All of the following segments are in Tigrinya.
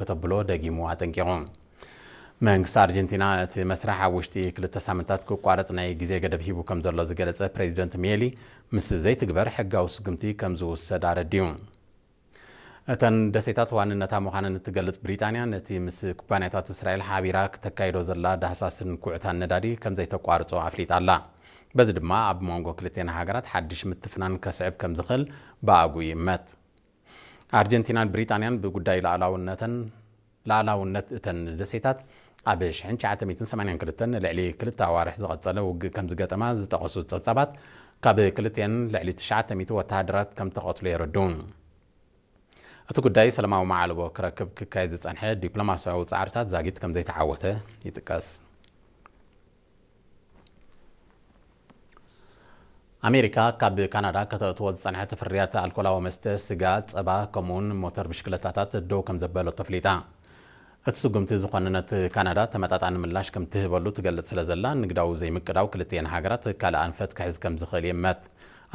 ከተብሎ ደጊሙ ኣጠንቂቑ። መንግስቲ ኣርጀንቲና እቲ መስርሕ ኣብ ውሽጢ ክልተ ሳምንታት ክቋረጽ ናይ ግዜ ገደብ ሂቡ ከም ዘሎ ዝገለጸ ፕሬዚደንት ሚየሊ፣ ምስ ዘይትግበር ሕጋዊ ስጉምቲ ከም ዝውሰድ ኣረዲኡ። እተን ደሴታት ዋንነታ ምዃነን እትገልጽ ብሪጣንያ፣ ነቲ ምስ ኩባንያታት እስራኤል ሓቢራ ክተካይዶ ዘላ ዳህሳስን ኩዕታን ነዳዲ ከም ዘይተቋርጾ ኣፍሊጣ ኣላ። በዚ ድማ ኣብ መንጎ ክልቴን ሃገራት ሓድሽ ምትፍናን ከስዕብ ከም ዝኽእል ብኣግኡ ይእመት። ኣርጀንቲናን ብሪጣንያን ብጉዳይ ሉዓላውነተን ሉዓላውነት እተን ደሴታት ኣብ ሽሕን ትሽዓተ ሚእትን ሰማንያን ክልተን ንልዕሊ ክልተ ኣዋርሕ ዝቐጸለ ውግእ ከም ዝገጠማ ዝጠቐሱ ጸብጻባት፣ ካብ ክልቲኤን ልዕሊ ትሽዓተ ሚእቲ ወተሃደራት ከም ተቐትሉ የረድኡ። እቲ ጉዳይ ሰላማዊ መዓልቦ ክረክብ ክካየድ ዝጸንሐ ዲፕሎማስያዊ ጻዕርታት ዛጊት ከም ዘይተዓወተ ይጥቀስ። ኣሜሪካ ካብ ካናዳ ከተእትዎ ዝጸንሐት ፍርያት ኣልኮላዊ መስተ፣ ስጋ፣ ጸባ፣ ከምኡውን ሞተር ብሽክለታታት ደው ከም ዘበለቶ ኣፍሊጣ። እቲ ስጉምቲ ዝኾነነት ካናዳ ተመጣጣኒ ምላሽ ከም ትህበሉ ትገልጽ ስለ ዘላ፣ ንግዳዊ ዘይምቅዳው ክልቲኤን ሃገራት ካልእ ኣንፈት ክሕዝ ከም ዝኽእል ይእመት።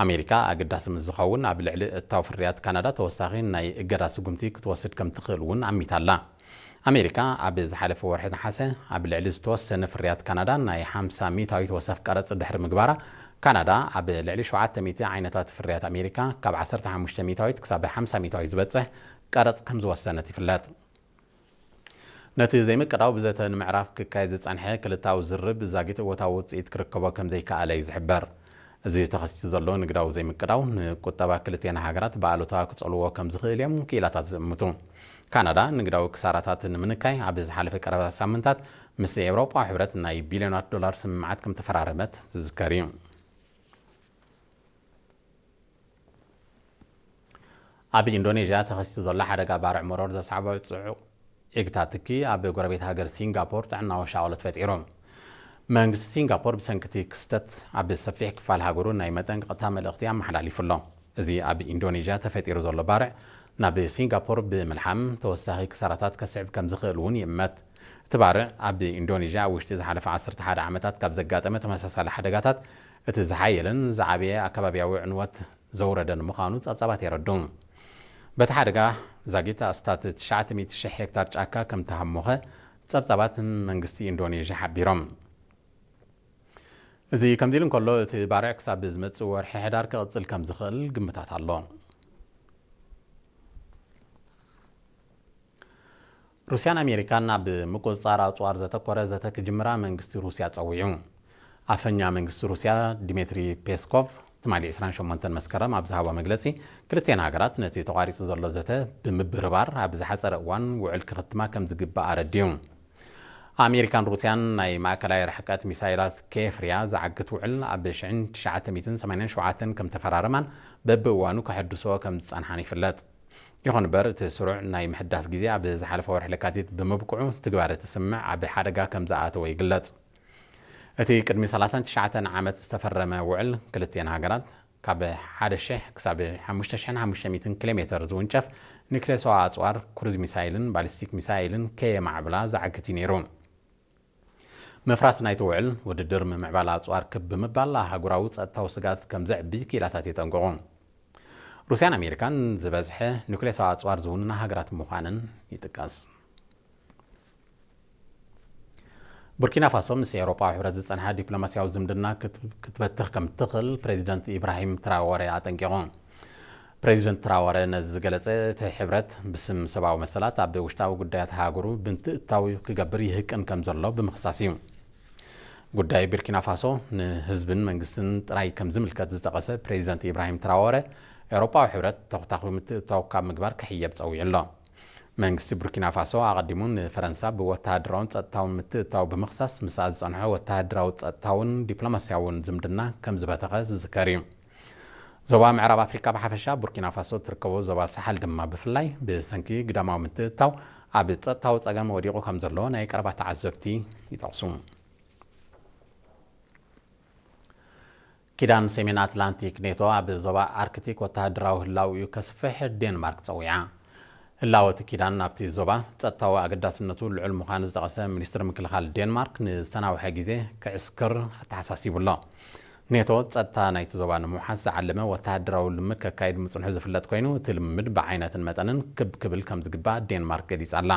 ኣሜሪካ ኣገዳሲ ምስ ዝኸውን፣ ኣብ ልዕሊ እታው ፍርያት ካናዳ ተወሳኺ ናይ እገዳ ስጉምቲ ክትወስድ ከም ትኽእል እውን ኣሚታ ኣላ። ኣሜሪካ ኣብ ዝሓለፈ ወርሒ ነሓሰ ኣብ ልዕሊ ዝተወሰነ ፍርያት ካናዳ ናይ ሓምሳ ሚእታዊት ወሰኽ ቀረጽ ድሕሪ ምግባራ፣ ካናዳ ኣብ ልዕሊ ሸውዓተ ሚእቲ ዓይነታት ፍርያት ኣሜሪካ ካብ ዓሰርተ ሓሙሽተ ሚእታዊት ክሳብ ሓምሳ ሚእታዊት ዝበጽሕ ቀረጽ ከም ዝወሰነት ይፍለጥ። ነቲ ዘይምቅዳው ብዘተ ንምዕራፍ ክካየድ ዝጸንሐ ክልታዊ ዝርብ ዛጊት እወታዊ ውጽኢት ክርከቦ ከም ዘይከኣለ እዩ ዝሕበር። እዚ ተኸሲቱ ዘሎ ንግዳዊ ዘይምቅዳው ንቁጠባ ክልቲኤን ሃገራት ብኣሉታ ክጸልዎ ከም ዝኽእል እዮም ክኢላታት ዝእምቱ። ካናዳ ንግዳዊ ክሳራታት ንምንካይ ኣብ ዝሓለፈ ቀረባ ሳምንታት ምስ ኤውሮጳዊ ሕብረት ናይ ቢልዮናት ዶላር ስምምዓት ከም ተፈራረመት ዝዝከር እዩ። ኣብ ኢንዶኔዥያ ተኸሲቱ ዘሎ ሓደጋ ባርዕ መሮር ዘስዓቦ ጽዑቕ ዒግታ ትኪ ኣብ ጎረቤት ሃገር ሲንጋፖር ጥዕናዊ ሻቕሎት ፈጢሩ። መንግስቲ ሲንጋፖር ብሰንኪ እቲ ክስተት ኣብ ሰፊሕ ክፋል ሃገሩ ናይ መጠንቀቕታ መልእኽቲ ኣመሓላሊፉ ኣሎ። እዚ ኣብ ኢንዶኔዥያ ተፈጢሩ ዘሎ ባርዕ ናብ ሲንጋፖር ብምልሓም ተወሳኺ ክሳራታት ከስዕብ ከም ዝኽእል እውን ይእመት። እቲ ባርዕ ኣብ ኢንዶኔዥያ ኣብ ውሽጢ ዝሓለፈ ዓሰርተ ሓደ ዓመታት ካብ ዘጋጠመ ተመሳሳሊ ሓደጋታት እቲ ዝሓየለን ዝዓበየ ኣከባብያዊ ዕንወት ዘውረደ ንምዃኑ ጸብጻባት የረድኡ። በቲ ሓደጋ ዛጊት ኣስታት ትሽዓተ ሚእቲ ሽሕ ሄክታር ጫካ ከም ተሃሞኸ ጸብጻባትን መንግስቲ ኢንዶኔዥያ ሓቢሮም። እዚ ከምዚ ኢሉ እንከሎ፣ እቲ ባርዕ ክሳብ ዝመጽእ ወርሒ ሕዳር ክቕጽል ከም ዝኽእል ግምታት ኣሎ። ሩስያን ኣሜሪካን ኣብ ምቁጽጻር ኣጽዋር ዘተኮረ ዘተ ክጅምራ መንግስቲ ሩስያ ጸዊዑ። ኣፈኛ መንግስቲ ሩስያ ዲሜትሪ ፔስኮቭ ትማሊ ዕስራን ሸሞንተን መስከረም ኣብ ዝሃቦ መግለጺ፣ ክልቲኤን ሃገራት ነቲ ተቋሪጹ ዘሎ ዘተ ብምብርባር ኣብ ዝሓጸረ እዋን ውዕል ክኽትማ ከም ዝግባእ ኣረዲኡ። ኣሜሪካን ሩስያን ናይ ማእከላይ ርሕቀት ሚሳይላት ከየፍርያ ዝዓግት ውዕል ኣብ ሽሕን ትሽዓተ ሚእትን ሰማንያን ሸውዓተን ከም ተፈራረማን በብእዋኑ ከሐድስኦ ከም ዝጸንሓን ይፍለጥ። ይኹን እምበር፣ እቲ ስሩዕ ናይ ምሕዳስ ግዜ ኣብ ዝሓለፈ ወርሒ ለካቲት ብምብቅዑ፣ ትግባረ እቲ ስምምዕ ኣብ ሓደጋ ከም ዝኣተወ ይግለጽ። እቲ ቅድሚ ሰላሳን ትሽዓተን ዓመት ዝተፈረመ ውዕል፣ ክልቲኤን ሃገራት ካብ ሓደ ሺሕ ክሳብ ሓሙሽተ ሺሕን ሓሙሽተ ሚእትን ኪሎ ሜተር ዝውንጨፍ ኒክሌሳዊ ኣጽዋር፣ ክሩዝ ሚሳይልን ባሊስቲክ ሚሳይልን ከየማዕብላ ዝዓግት እዩ ነይሩ። ምፍራስ ናይቲ ውዕል፣ ውድድር ምምዕባል ኣጽዋር ክብ ብምባል ኣህጉራዊ ጸጥታዊ ስግኣት ከም ዘዕቢ ክኢላታት የጠንቅቑ። ሩስያን ኣሜሪካን ዝበዝሐ ኑክሌሳዊ ኣጽዋር ዝውንና ሃገራት ምዃነን ይጥቀስ። ቡርኪና ፋሶ ምስ ኤውሮጳዊ ሕብረት ዝጸንሓ ዲፕሎማስያዊ ዝምድና ክት-፣ ክትበትኽ ከም ትኽእል ፕሬዚደንት ኢብራሂም ትራወረ ኣጠንቂቑ። ፕሬዚደንት ትራወረ ነዚ ዝገለጸ፣ እቲ ሕብረት ብስም ሰብኣዊ መሰላት ኣብ ውሽጣዊ ጉዳያት ሃገሩ ብምትእትታው ክገብር ይህቅን ከም ዘሎ ብምኽሳስ እዩ። ጉዳይ ቡርኪና ፋሶ ንህዝብን መንግስትን ጥራይ ከም ዝምልከት ዝጠቐሰ ፕሬዚደንት ኢብራሂም ትራወረ፣ ኤውሮጳዊ ሕብረት ተኹታኹ ምትእትታው ካብ ምግባር ክሕየብ ጸዊዑ ኣሎ። መንግስቲ ቡርኪና ፋሶ ኣቐዲሙ ንፈረንሳ ብወተሃደራውን ጸጥታውን ምትእትታው ብምኽሳስ፣ ምስኣ ዝጸንሖ ወተሃደራዊ፣ ጸጥታውን ዲፕሎማስያውን ዝምድና ከም ዝበተኸ ዝዝከር እዩ። ዞባ ምዕራብ ኣፍሪካ ብሓፈሻ፣ ቡርኪና ፋሶ እትርከቦ ዞባ ሳሓል ድማ ብፍላይ፣ ብሰንኪ ግዳማዊ ምትእትታው ኣብ ጸጥታዊ ጸገም ወዲቑ ከም ዘሎ ናይ ቀረባ ተዓዘብቲ ይጠቕሱ። ኪዳን ሰሜን ኣትላንቲክ ኔቶ ኣብ ዞባ ኣርክቲክ ወተሃደራዊ ህላውኡ ከስፍሕ ዴንማርክ ጸዊዓ። ህላወ እቲ ኪዳን ናብቲ ዞባ ጸጥታዊ ኣገዳስነቱ ልዑል ምዃኑ ዝጠቐሰ ሚኒስትሪ ምክልኻል ዴንማርክ፣ ንዝተናውሐ ግዜ ክዕስክር ኣተሓሳሲቡ ኣሎ። ኔቶ ጸጥታ ናይቲ ዞባ ንምውሓስ ዝዓለመ ወተሃደራዊ ልምምድ ከካይድ ምጽንሑ ዝፍለጥ ኮይኑ፣ እቲ ልምምድ ብዓይነትን መጠንን ክብ ክብል ከም ዝግባእ ዴንማርክ ገሊጻ ኣላ።